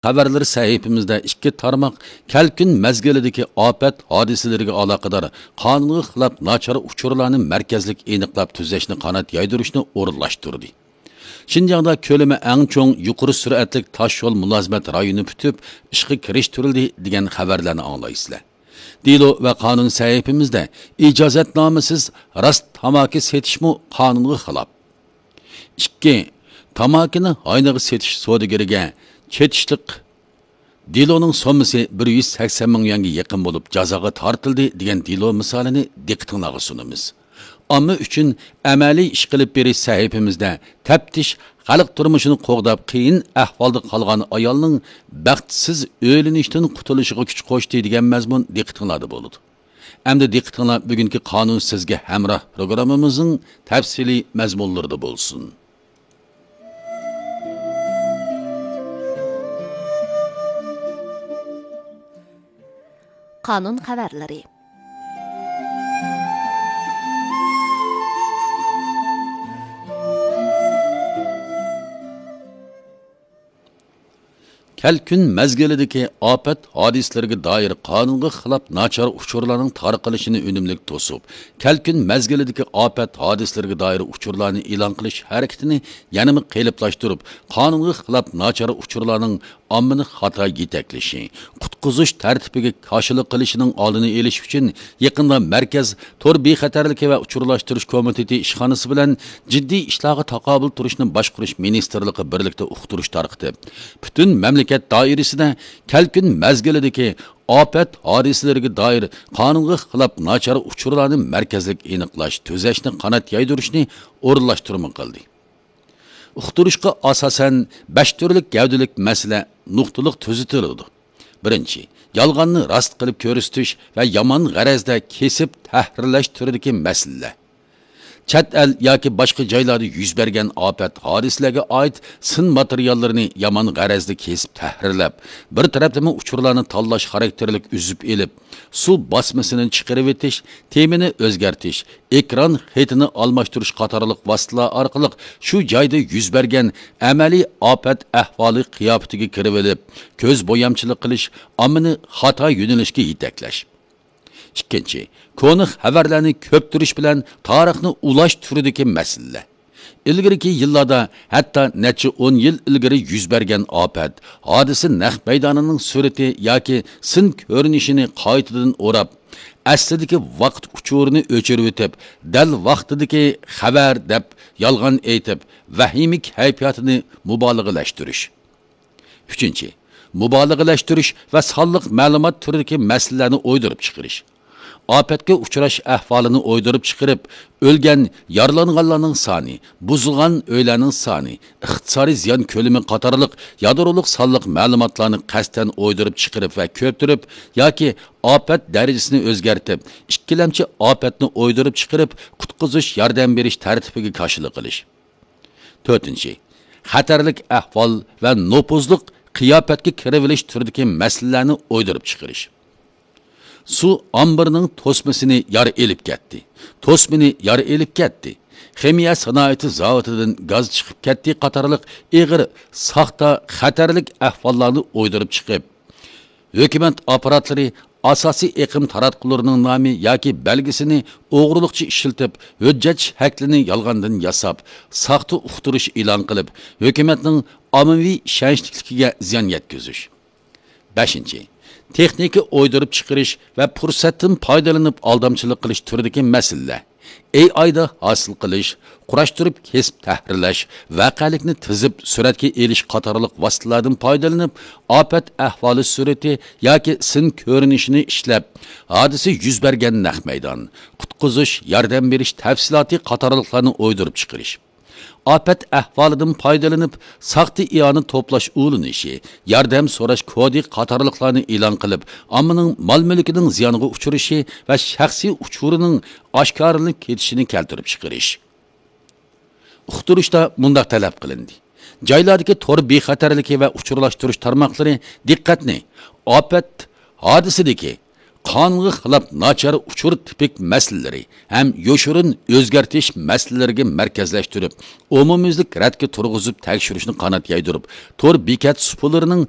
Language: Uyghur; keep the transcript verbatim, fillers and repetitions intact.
خەۋەرلىرى سەھىپىمىزدە ئىككى تارماق كەلكۈن مەزگىلىدىكى ئاپەت ھادىسىلىرىگە ئالاقىدار قانۇنغا خىلاپ ناچار ئۇچۇرلارنى مەركەزلىك ئېنىقلاپ تۈزەشنى قانات يايدۇرۇشنى ئورۇنلاشتۇردى. شىنجاڭدا كۆلىمى ئەڭ چوڭ يۇقىرى سۈرئەتلىك تاش يول مۇلازىمەت رايونى پۈتۈپ، ئىشقا كىرىشتۈرۈلدى دېگەن خەۋەرلەرنى ئاڭلايسىلەر. دېلو ۋە قانۇن سەھىپىمىزدە ئىجازەتنامىسىز راست تاماكا سېتىشمۇ قانۇنغا خىلاپ. ئىككى، تاماكىنى ھاينىغا سېتىش سودىگىرىگە چېتىشلىق دېلونىڭ سوممىسى بىر يۈز سەكسەن مىڭ يۈەنگە يېقىن بولۇپ جازاغا تارتىلدى دېگەن دېلو مىسالىنى دىققىتىڭلارغا سۇنىمىز. ئامما ئۈچۈن ئەمەلىي ئىش قىلىپ بېرىش سەھىپىمىزدە تەپتىش خەلق تۇرمۇشىنى قوغداپ، قىيىن ئەھۋالدا قالغان ئايالنىڭ بەختسىز ئۆيلىنىشتىن قۇتۇلۇشىغا كۈچ قوشتى دېگەن مەزمۇن دىققىتىڭلاردا بولىدۇ. ئەمدى دىققىتىڭلار بۈگۈنكى قانۇن سىزگە ھەمراھ پروگراممىمىزنىڭ تەپسىلىي مەزمۇنلىرىدا بولسۇن. قانۇن خەۋەرلىرى. كەلكۈن مەزگىلىدىكى ئاپەت ھادىسىلىرىگە دائىر قانۇنغا خىلاپ ناچار ئۇچۇرلارنىڭ تارقىلىشىنى ئۈنۈملۈك توسۇپ، كەلكۈن مەزگىلىدىكى ئاپەت ھادىسىلىرىگە دائىر ئۇچۇرلارنى ئېلان قىلىش ھەرىكىتىنى يەنىمۇ قېلىپلاشتۇرۇپ، قانۇنغا خىلاپ ناچار ئۇچۇرلارنىڭ ئاممىنى خاتا يېتەكلىشى، قۇتقۇزۇش تەرتىپىگە كاشىلىق قىلىشىنىڭ ئالدىنى ئېلىش ئۈچۈن، يېقىندا مەركەز تور بىخەتەرلىكى ۋە ئۇچۇرلاشتۇرۇش كومىتېتى ئىشخانىسى بىلەن جىددىي ئىشلارغا تاقابىل تۇرۇشنى باشقۇرۇش مىنىستىرلىقى بىرلىكتە ئۇقتۇرۇش تارقىتىپ، پۈتۈن مەملىكەت دائىرىسىدە كەلكۈن مەزگىلىدىكى ئاپەت ھادىسىلىرىگە دائىر قانۇنغا خىلاپ ناچار ئۇچۇرلارنى مەركەزلىك ئېنىقلاش، تۈزەشنى قانات يايدۇرۇشنى ئورۇنلاشتۇرما قىلدى. ئۇقتۇرۇشقا ئاساسەن، بەش تۈرلۈك گەۋدىلىك مەسىلە نۇقتىلىق تۈزىتىلىدۇ. بىرىنچى، يالغاننى راست قىلىپ كۆرسىتىش ۋە يامان غەرەزدە كېسىپ تەھرىرلەش تۈرىدىكى مەسىلىلەر. چەت ئەل ياكى باشقا جايلاردا يۈز بەرگەن ئاپەت ھادىسىلەرگە ئائىت سىن ماتېرىياللىرىنى يامان غەرەزدە كېسىپ تەھرىرلەپ، بىر تەرەپلىمە ئۇچۇرلارنى تاللاش خاراكتېرلىك ئۈزۈپ ئېلىپ، سۇ باسمىسىنى چىقىرىۋېتىش، تېمىنى ئۆزگەرتىش، ئېكران خېتىنى ئالماشتۇرۇش قاتارلىق ۋاسىتىلەر ئارقىلىق شۇ جايدا يۈز بەرگەن ئەمەلىي ئاپەت ئەھۋالى قىياپىتىگە كىرىۋېلىپ، كۆز بويامچىلىق قىلىش، ئاممىنى خاتا يۆنىلىشكە يېتەكلەش. ئىككىنچى، كونا خەۋەرلەرنى كۆپتۈرۈش بىلەن تارىخنى ئۇلاش تۈرىدىكى مەسىلىلەر. ئىلگىرىكى يىللاردا، ھەتتا نەچچە ئون يىل ئىلگىرى يۈز بەرگەن ئاپەت، ھادىسە نەق مەيدانىنىڭ سۈرىتى ياكى سىن كۆرۈنۈشىنى قايتىدىن ئوراپ، ئەسلىدىكى ۋاقىت ئۇچۇرىنى ئۆچۈرۈۋېتىپ، دەل ۋاقتىدىكى خەۋەر دەپ يالغان ئېيتىپ، ۋەھىمە كەيپىياتىنى مۇبالىغىلەشتۈرۈش. ئۈچىنچى، مۇبالىغىلەشتۈرۈش ۋە سانلىق مەلۇمات تۈرىدىكى مەسىلىلەرنى ئويدۇرۇپ چىقىرىش. ئاپەتكە ئۇچراش ئەھۋالىنى ئويدۇرۇپ چىقىرىپ، ئۆلگەن، يارىلانغانلارنىڭ سانى، بۇزۇلغان ئۆيلەرنىڭ سانى، ئىقتىسادىي زىيان كۆلىمى قاتارلىق يادرولۇق سانلىق مەلۇماتلارنى قەستەن ئويدۇرۇپ چىقىرىپ ۋە كۆپتۈرۈپ ياكى ئاپەت دەرىجىسىنى ئۆزگەرتىپ، ئىككىلەمچى ئاپەتنى ئويدۇرۇپ چىقىرىپ، قۇتقۇزۇش ياردەم بېرىش تەرتىپىگە كاشىلىق قىلىش. تۆتىنچى، خەتەرلىك ئەھۋال ۋە نوپۇزلۇق قىياپەتكە كىرىۋېلىش تۈرىدىكى مەسىلىلەرنى ئويدۇرۇپ چىقىرىش. سۇ ئامبىرىنىڭ توسمىسىنى يار ئېلىپ كەتتى. توسمىنى يار ئېلىپ كەتتى. خىمىيە سانائىتى زاۋۇتىدىن گاز چىقىپ كەتتى قاتارلىق ئېغىر، ساختا، خەتەرلىك ئەھۋاللارنى ئويدۇرۇپ چىقىپ، ھۆكۈمەت ئاپپاراتلىرى ئاساسىي ئېقىم تاراتقۇلىرىنىڭ نامى ياكى بەلگىسىنى ئوغرىلىقچە ئىشلىتىپ، ھۆججەت شەكلىنى يالغاندىن ياساپ، ساختا ئۇقتۇرۇش ئېلان قىلىپ، ھۆكۈمەتنىڭ ئاممىۋى ئىشەنچلىكلىكىگە زىيان يەتكۈزۈش. بەشىنچى، تېخنىكا ئويدۇرۇپ چىقىرىش ۋە پۇرسەتتىن پايدىلىنىپ ئالدامچىلىق قىلىش تۈرىدىكى مەسىلىلەر. ئېي ئايدا ھاسىل قىلىش، قۇراشتۇرۇپ كېسىپ تەھرىرلەش، ۋەقەلىكنى تىزىپ سۈرەتكە ئېلىش قاتارلىق ۋاسىتىلەردىن پايدىلىنىپ، ئاپەت ئەھۋالى سۈرىتى ياكى سىن كۆرۈنۈشىنى ئىشلەپ، ھادىسە يۈز بەرگەن نەق مەيدان، قۇتقۇزۇش، ياردەم بېرىش تەپسىلاتى قاتارلىقلارنى ئويدۇرۇپ چىقىرىش. ئاپەت ئەھۋالىدىن پايدىلىنىپ، ساختا ئىئانە توپلاش ئۇلىنىشى، ياردەم سوراش كودى قاتارلىقلارنى ئېلان قىلىپ، ئاممىنىڭ مال-مۈلكىنىڭ زىيانغا ئۇچرىشى ۋە شەخسىي ئۇچۇرىنىڭ ئاشكارىلىنىپ كېتىشىنى كەلتۈرۈپ چىقىرىش. ئۇقتۇرۇشتا مۇنداق تەلەپ قىلىندى: جايلاردىكى تور بىخەتەرلىكى ۋە ئۇچۇرلاشتۇرۇش تارماقلىرى دىققەتنى ئاپەت ھادىسىدىكى قانۇنغا خىلاپ ناچار ئۇچۇر تىپىك مەسىلىلىرى ھەم يوشۇرۇن ئۆزگەرتىش مەسىلىلىرىگە مەركەزلەشتۈرۈپ، ئومۇميۈزلۈك رەتكە تۇرغۇزۇپ تەكشۈرۈشنى قانات يايدۇرۇپ، تور بېكەت سۇپىلىرىنىڭ